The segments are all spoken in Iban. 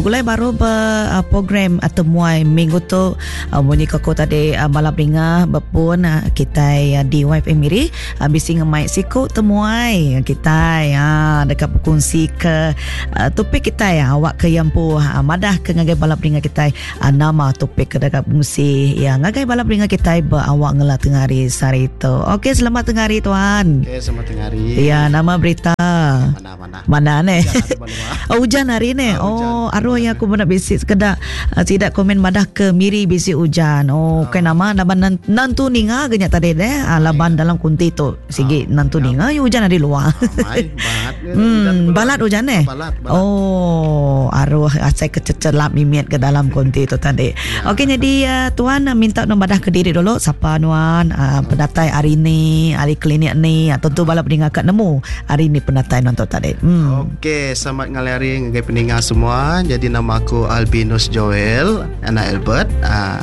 Begulai baru ba uh, program atau muai minggu tu uh, munyi ko aku tadi uh, malam ringa bepun uh, kitai uh, di YFM Miri uh, bisi ngemai siku temuai kitai uh, deka berkongsi ke uh, topik kitai uh, awak ke iya empu uh, madah ke ngagai bala peninga kitai uh, nama topik ke deka berkongsi ya ngagai bala peninga kitai ba awak ngela tengah hari sehari tu. Okey selamat tengah hari tuan. Okey selamat tengah hari. Ya nama berita. Mana mana. Mana ne? Oh, hujan hari ni. Ah, oh, aruh yang aku pernah bisi sekeda uh, tidak komen madah ke Miri bisi hujan. Oh, ah. nama laban nantu ninga ke nya tadi deh. Ah, laban dalam kunti tu sigi ah. nantu ninga ya hujan hari luar. Ah, balat. Hmm, balat hujan eh. Balat, balat. Oh, aruh asai kececelap mimit ke dalam kunti tu tadi. Ya. Okey, jadi uh, tuan minta nu madah ke diri dulu sapa nuan uh, pendatai hari ni, hari klinik ni. Uh, tentu bala peninga kat nemu Hari ni penatai nonton tadi. Hmm. Okey, selamat ngalih hari ngagai peninga semua. Jadi nama aku Albinus Joel, anak Albert. Uh,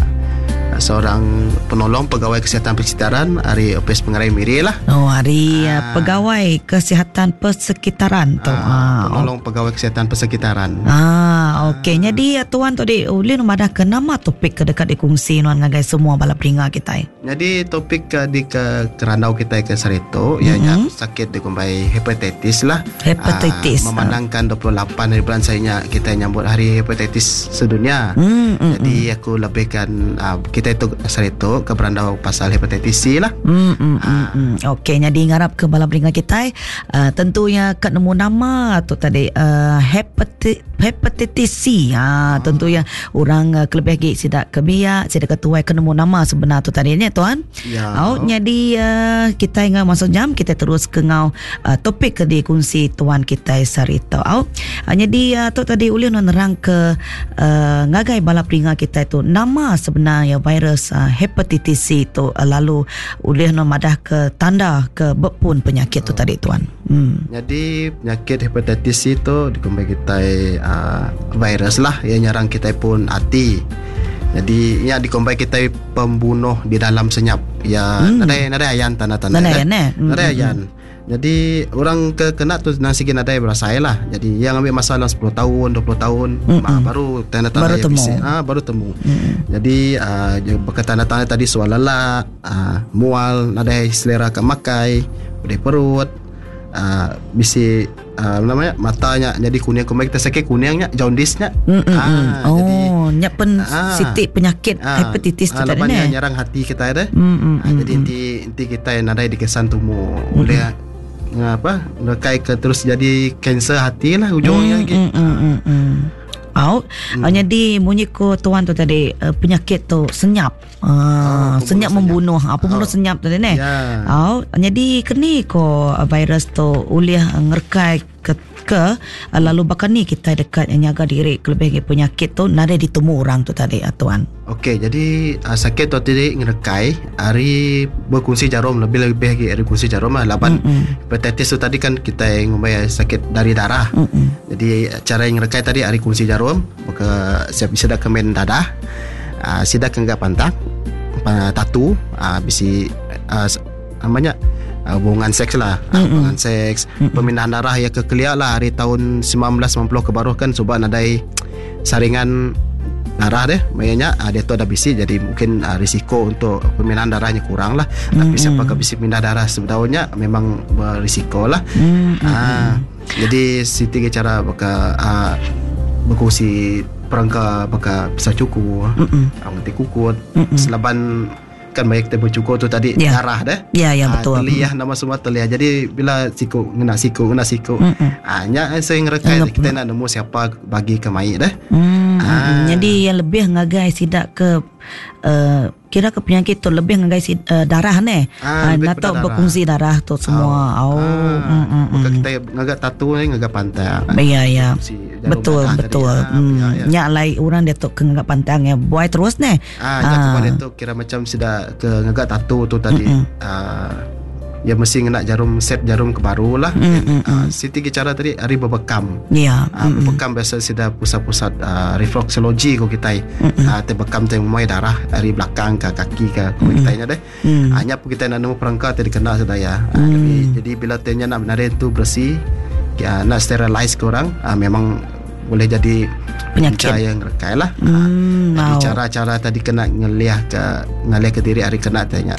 seorang penolong pegawai kesihatan persekitaran hari Opis Pengerai Miri lah. Oh, hari uh, pegawai kesihatan persekitaran tu. Uh, penolong oh. pegawai kesihatan persekitaran. Ah, okey. Uh. Jadi tuan tu di ulih madah ke nama topik ke dekat dikongsi nuan ngagai semua bala peninga kita. Nyadi topik ke di ke kerandau kitai ke saritu iya nya sakit dikumbai hepatitis lah. Hepatitis. Uh, memandangkan 28 hari bulan saya nya kitai nyambut hari hepatitis sedunia. Mm, mm, Jadi mm. aku lebihkan uh, kitai tu saritu ke berandau pasal hepatitis C lah. Mm, mm, mm, mm. Okey, jadi ngarap ke bala peninga kitai uh, tentunya ke nemu nama tu tadi uh, hepatitis hepatitis C. Ha, tentu ya orang uh, kelebih agi sida ke biak, sida ke tuai ke nemu nama sebenar tu tadi nya tuan. Ya. Au nyadi uh, kitai ngau masuk jam kita terus ke ngau uh, topik ke dikongsi tuan kitai sehari tu. Au uh, nyadi uh, tu tadi ulih nuan nerang ke uh, ngagai bala peninga kitai tu nama sebenar ya virus uh, hepatitis C tu uh, lalu ulih nuan madah ke tanda ke bepun penyakit tu tadi tuan. Hmm. Nyadi penyakit hepatitis C tu dikumbai kitai uh, virus lah yang nyerang kitai pun ati. Jadi nya dikumbai kitai pembunuh di dalam senyap. Ya hmm. nadai nadai ayan tanda-tanda. Nadai ayan eh. Hmm. Nadai ayan. Jadi orang ke kena tu nang sigi nadai berasai lah. Jadi yang ambil masa dalam 10 tahun, 20 tahun mm -mm. baru tanda-tanda baru temu. Bisi. Ha, baru temu. Mm. Jadi uh, tanda-tanda tadi soal lelak, uh, mual nadai selera ke makai pedih perut uh, bisi uh, namanya matanya jadi kuning kumai kita sakit kuningnya jaundice nya mm, mm, ah, oh jadi, nya pen ah, siti penyakit ah, hepatitis tu ah, tadi ne nyerang hati kita ada mm, mm, ah, jadi inti inti kita nadai dikesan tumu mm, oleh apa rekai ke terus jadi kanser hati lah ujungnya mm, lagi mm, mm, mm, mm. Au, hmm. jadi munyi ko tuan tu tadi penyakit tu senyap. Ah, oh, senyap membunuh. Apa bunuh oh. senyap tadi ne? Yeah. Oh, jadi keni ko ah, virus tu ulih ngerkai ke, ke ah, lalu bahkan ni kita dekat nyaga diri kelebih lagi penyakit tu nadai ditemu orang tu tadi ah, tuan. Okey, jadi uh, sakit tu tadi ngerekai hari berkongsi jarum lebih-lebih lagi hari berkongsi jarum lah laban mm-hmm. hepatitis tu tadi kan kita ngumbai sakit dari darah. Mm-hmm. Jadi cara yang ngerekai tadi hari kongsi jarum maka siap bisa dah kemen dadah. uh, sida ke ngaga pantang uh, tatu uh, bisi uh, namanya uh, hubungan seks lah mm-hmm. hubungan seks mm-hmm. pemindahan darah ya ke kelia lah hari tahun 1990 ke baruh kan suba nadai saringan darah deh mayanya uh, dia tu ada bisi jadi mungkin uh, risiko untuk pemindahan darahnya kurang lah mm-hmm. tapi siapa ke bisi pindah darah sebetulnya memang berisiko lah mm-hmm. uh, jadi siti cara baka uh, berkongsi perengka baka pisau cukur, mm nganti kukut, Mm-mm. selaban kan banyak kita bercukur tu tadi yeah. darah deh. Ya yeah, ya yeah, betul. Teliah nama semua teliah. Jadi bila siku ngena siku ngena siku. Ah nya saya ngerekai kita nak nemu siapa bagi ke mai deh. Mm. Ah. Jadi yang lebih ngagai sidak ke uh, Kira ke penyakit tu lebih ngagai si, uh, darah ne. Ah, uh, atau berkongsi darah tu semua. Oh. Oh. Ah, Mm, mm, Bukan mm. kita ngaga tatu ni ngaga pantang. Ya ya. Si jarum Betul darah betul. tadi. Ah, Hmm. ya, ya. Nya lai orang dia tu ke ngaga pantang ya buai terus ne. Ah, nya kepada tu kira macam sudah ke ngaga tatu tu tadi. Ah, ya mesti ngena jarum set jarum ke baru lah. Mm, mm, Ah, siti ke cara tadi hari berbekam. Ya. Ah, berbekam biasa sida pusat-pusat ah, refleksologi ko kitai. Ah, te bekam te muai darah dari belakang ke kaki ke ko kitai nya deh. Mm. Ah, nya pun kitai nak nemu perangka te dikena sida ya. Ah, jadi, jadi bila te nya nak benarin tu bersih, ya, nak sterilize ke orang, ah, memang boleh jadi Penyakit. punca yang ngerekai lah. Jadi cara-cara tadi kena ngeliah ke ngalih ke diri hari kena tanya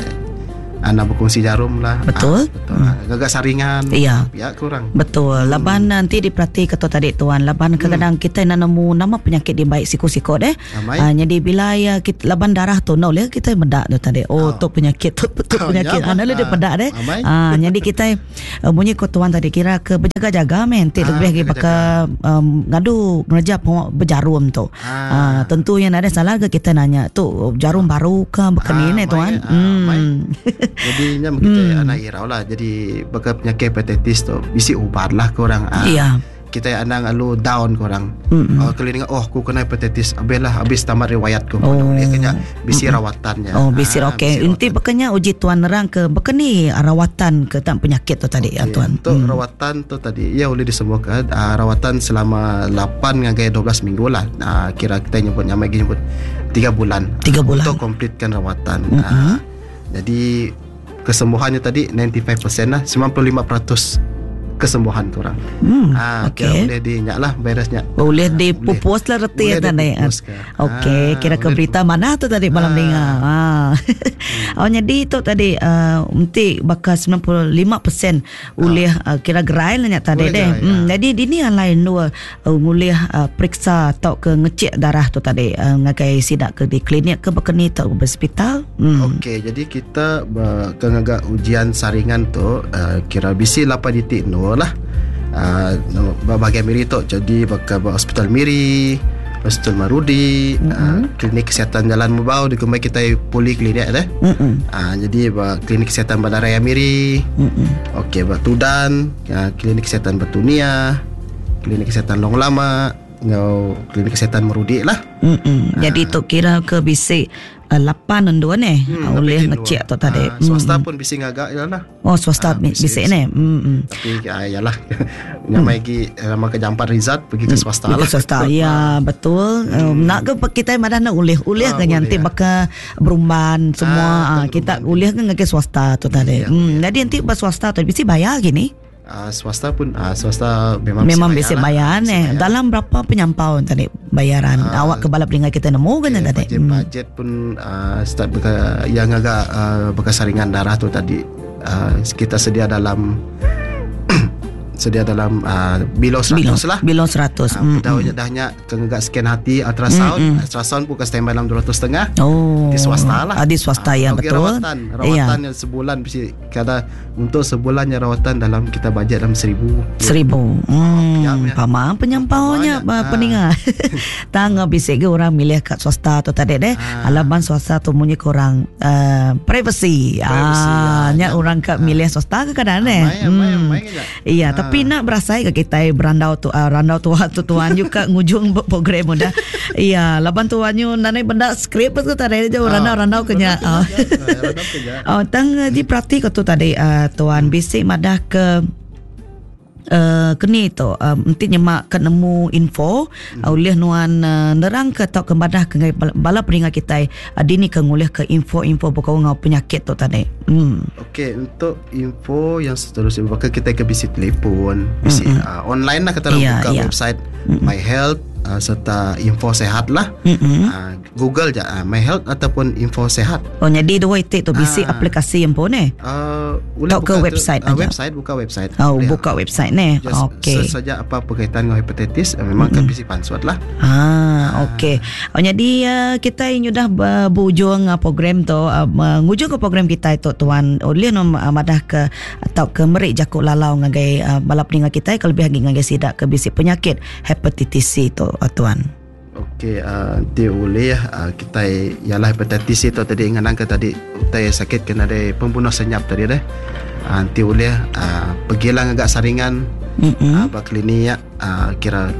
anak berkongsi jarum lah. Betul. Betul. Gagak saringan. Iya. Ya kurang. Betul. Laban nanti diperhati kata tadi tuan. Laban kadang-kadang kita nak nemu nama penyakit di baik siku-siku deh. Amai. Jadi bila ya kita laban darah tu nak boleh kita medak tu tadi. Oh, tu penyakit tu, tu Oh, penyakit. ya, Nak boleh dia pedak deh. Amai. Jadi kita bunyi ko tuan tadi kira ke berjaga-jaga men. Nanti lebih lagi berjaga-jaga. bakal ngadu ngerja berjarum tu. Tentu yang ada salah ke kita nanya tu jarum baru ke bukan ni tuan. Mai. Jadi nya kita anak irau lah. Jadi bakal penyakit hepatitis tu bisi ubat lah korang. Iya. Kita anang alu down korang. Kalau dengar oh aku kena hepatitis, habis lah habis tamat riwayat ku. Oh. Dia kena bisi rawatannya. Oh, bisi okey. Bisi Inti bekanya uji tuan nerang ke bekeni rawatan ke tak penyakit tu tadi ya Okey, tuan. Untuk rawatan tu tadi ia boleh disembuhkan rawatan selama 8 hingga 12 minggu lah. Kira kita nyebut nyamai nyebut 3 bulan. 3 bulan. Untuk komplitkan rawatan. Jadi kesembuhannya tadi 95% lah, 95% kesembuhan korang. Kira Okey. boleh dinyak lah virusnya. Boleh dipupus lah reti Boleh tadi. dipupus ke. Okey, kira ke boleh berita mana tu tadi malam dengar. Oh, jadi tu tadi mesti bakal 95% ulih kira gerai lah nyak tadi Boleh deh. gerai, ya. Jadi dini yang lain dua ngulih periksa atau ke ngecek darah tu tadi ngagai sidak ke di klinik ke bekeni atau ke hospital. Okey, jadi kita ke ngagak ujian saringan tu kira BC 8.0 lah. Bahagian Miri tu jadi bakal hospital Miri, Hospital Marudi, klinik kesihatan Jalan Mubau di kemai kita poliklinik deh. Jadi klinik kesihatan Bandaraya Miri. Okey, Batudan, klinik kesihatan Batunia, klinik kesihatan Long Lama, ngau klinik kesihatan Merudi lah. Jadi tu kira ke bisi 8 dan 2 ni oleh ngecek tu tadi. Swasta pun bisi ngagak ya lah. Oh, swasta Bisi- bisi ni. Tapi yalah nyamai lagi lama ke jampat Rizat pergi ke swasta Ke lah. swasta. Ya, betul. Nak ke kita madah nak ulih-ulih ke Ulih, nyanti ya. bakal berumban semua. Betul, Kita ulih ke ngake swasta tu tadi. Ya, Jadi nanti pas swasta tu bisi bayar gini. Swasta pun swasta memang Memang bisi bisi bayar bayar lah. ni. Bisi bayar. Dalam berapa penyampau tadi bayaran? Awak ke balap ringan kita nemu kan Okay, tadi? Budget, budget pun start beka, yang agak bekas saringan darah tu tadi kita sedia dalam sedia dalam below 100 Below, lah. below 100. Dah dahnya ke ngagak scan hati ultrasound, ultrasound pun ke standby dalam 200 setengah. Oh. Di swasta lah. Di swasta ya okey, betul. Rawatan, rawatan yang sebulan mesti kada untuk sebulannya rawatan dalam kita bajet dalam 1000. 1000. Ya, ya. Pamang penyampaunya Pamang, ya. peninga. Tang bisik ke orang milih kat swasta tu tadi deh. Alaman swasta tu munyi korang privacy. Privacy, Nya ya. orang kat milih swasta ke kadang deh. Amai, amai, amai ke Iya, tapi nak berasai ke kita berandau tu randau tua tu tuan juga ngujung program muda. Iya, laban tuan nyu nanai benda skrip tu tadi je randau-randau kenya. Randau kenya. Oh, tang diperhati ke tu tadi tuan bisik madah ke keni tu mesti nyemak ke nemu info ulih nuan nerang ke atau ke madah ke ngai bala peringat kita dini ke ngulih ke info-info berkau ngau penyakit tu tadi. Okey, untuk info yang seterusnya bakal kita ke bisi telefon, bisi online lah kita Ya, buka ya. website My Health serta info sehat lah. Google je My Health ataupun info sehat. Oh jadi dua itik tu bisi aplikasi yang pun eh. Boleh Tak ke buka tu, website aja? website buka website. Oh, Boleh. buka website ni. Just Okey. search saja apa berkaitan dengan hepatitis memang akan bisi pansut lah. Okey. Oh, jadi kita ini dah berujung program tu, mengujung ke program kita itu tuan oleh nom madah ke atau ke merik jakuk lalau ngagai bala peningat kita kalau lebih lagi ngagai sidak ke bisi penyakit hepatitis C tu tuan. Okey, nanti boleh kita ialah hepatitis itu tadi ingat ke tadi utai sakit kena ada pembunuh senyap tadi deh. Nanti boleh pergilah agak saringan bah klinik kira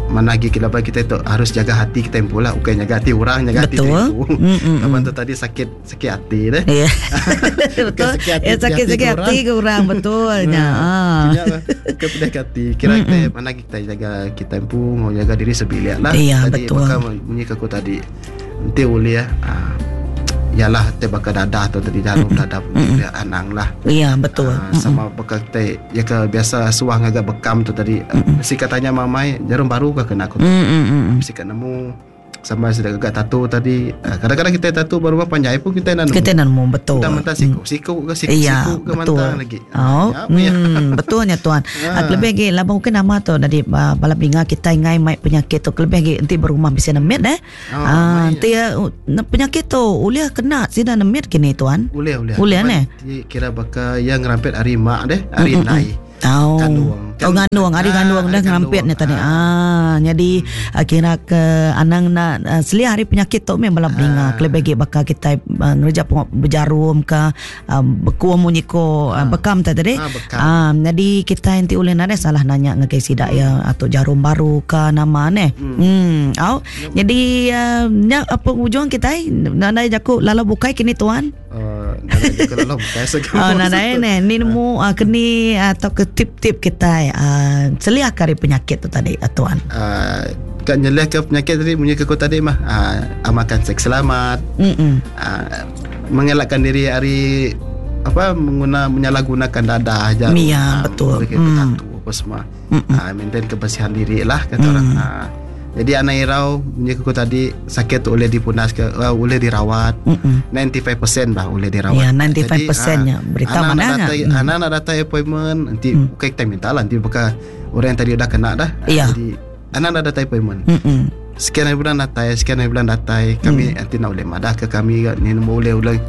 mana lagi kita kita itu harus jaga hati kita pula bukan jaga hati orang jaga hati Betul. diri Kapan tu tadi sakit sakit hati deh. Ya. betul. sakit hati, Ya sakit sakit hati hati ke orang betulnya. Punya lah, Bukan pedih hati. Kira kita mana kita jaga kita pun mau jaga diri sebilik lah. Iya, tadi betul. Maka bunyi ke aku tadi. Nanti boleh ya. Yalah ti baka dadah tu tadi jarum dadah pun mm anang lah. Ya betul. Sama baka ti ya ke biasa suah ngaga bekam tu tadi mesti ka tanya mamai jarum baru ka kena aku tu. Mesti ka nemu sama sida gaga tattoo tadi. Kadang-kadang kita tattoo ba rumah panjai pun kita enda nemu. Kita enda nemu betul. Entah mentah siku siku ke siku Iya, siku ke betul. mantah lagi. Oh, Ya, ya. betul nya tuan. Ha. Kelebih lagi laban mungkin nama tu dari bala peninga kita ngai mai penyakit tu kelebih lagi enti berumah bisi nemit eh. Oh, Ah, enti penyakit tu ulih kena sida nemit kini tuan. Ulih ulih. Ulih neh. Ti kira baka iya ngerampit ari mak deh, ari indai. Oh. Kandung. Oh ngandung, ari ngandung dah ngerampit nya tadi. Ah, jadi kira ke anang na seliah ari penyakit tu meh bala peninga kelebih agi baka kitai ngereja pengawa bejarum ka bekuh munyi ko bekam tu tadi. Ah, jadi kitai enti ulih nadai salah nanya ngagai sida iya atuk jarum baru ka nama neh. Hmm, au. Jadi nya pengujung kitai nadai jaku lalau bukai kini tuan. Uh, oh, nadai neh ni nemu uh, keni atau ke tip-tip kitai uh, seliah ke ari penyakit tu tadi uh, tuan. Uh, kat nyeliah ke penyakit tadi munyi ke ku tadi mah uh, amalkan seks selamat. Mm Uh, mengelakkan diri ari apa mengguna menyalahgunakan dadah aja. Ya, betul. Mm. Apa semua. Uh, maintain kebersihan diri lah kata mm. orang. Uh, jadi anak irau munyi ku tadi sakit tu boleh dipunas ke uh, boleh dirawat. Mm-mm. 95% bah boleh dirawat. Ya, 95% nya berita anak mana nak nya. datang, anak nak datang appointment nanti mm. bukan kita minta lah nanti bukan orang yang tadi udah kena dah. Ya. Jadi anak nak datang appointment. Mm-mm. Sekian hari bulan datai, sekian hari bulan datai. Kami mm. nanti nak boleh madah ke kami ni boleh boleh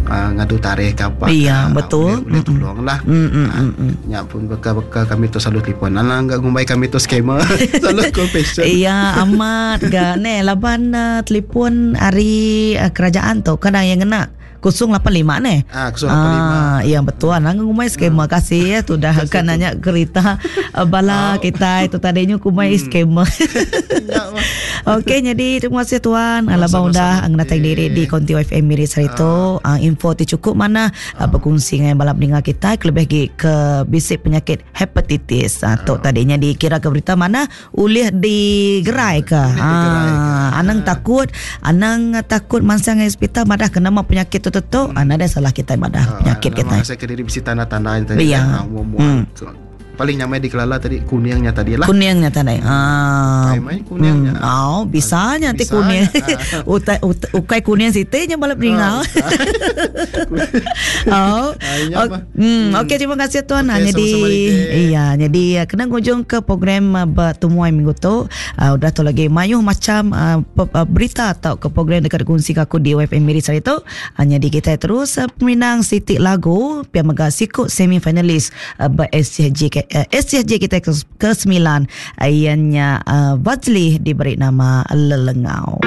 uh, ngadu tarikh ke apa. Iya, ke, betul. Boleh, boleh tolong lah. Mm, mm, mm, mm. Ya pun bekal-bekal kami tu selalu telefon. Anak enggak ngumbai kami tu scammer. selalu call patient. Iya amat ga ne laban uh, telefon hari uh, kerajaan tu kadang yang kena 085 ne. Ah, 085. Ah, iya betul. Nang ngumai scammer kasih ya tu dah kan nanya kerita uh, bala kita itu tadinya kumai scammer. Okey, jadi terima kasih tuan. Oh, Abang udah ngenatang diri di Konti FM Miri Sarito. Uh, info ti cukup mana uh, berkongsi dengan bala pendengar kita kelebih lagi ke bisik penyakit hepatitis. Uh, tu tadinya dikira ke berita mana ulih digerai ke. Ah, anang takut, anang takut mansang hospital madah kena mah penyakit tu tu. Hmm. Ada salah kita madah penyakit kita. Saya ke diri bisi tanda-tanda yang tadi. Iya. Ah, muam-muam. Paling nyamai dikelala tadi kuningnya tadi lah. Kuningnya tadi. Ah. Main kuningnya. Oh, bisanya nanti kuning. Utai ukai kuning siti nya balap ringau. Oh. Hmm, okey terima kasih tuan. Okey, jadi sama-sama, Dike. iya, jadi kena ngujung ke program bertemuai minggu tu. Udah tu lagi mayuh macam berita atau ke program dekat kongsi ke aku di WFM Miri sehari tu. Jadi kita terus peminang Siti Lagu pia mega sikut semi finalis ber SCG SCG kita ke-9 ianya Fazli diberi nama Lelengau.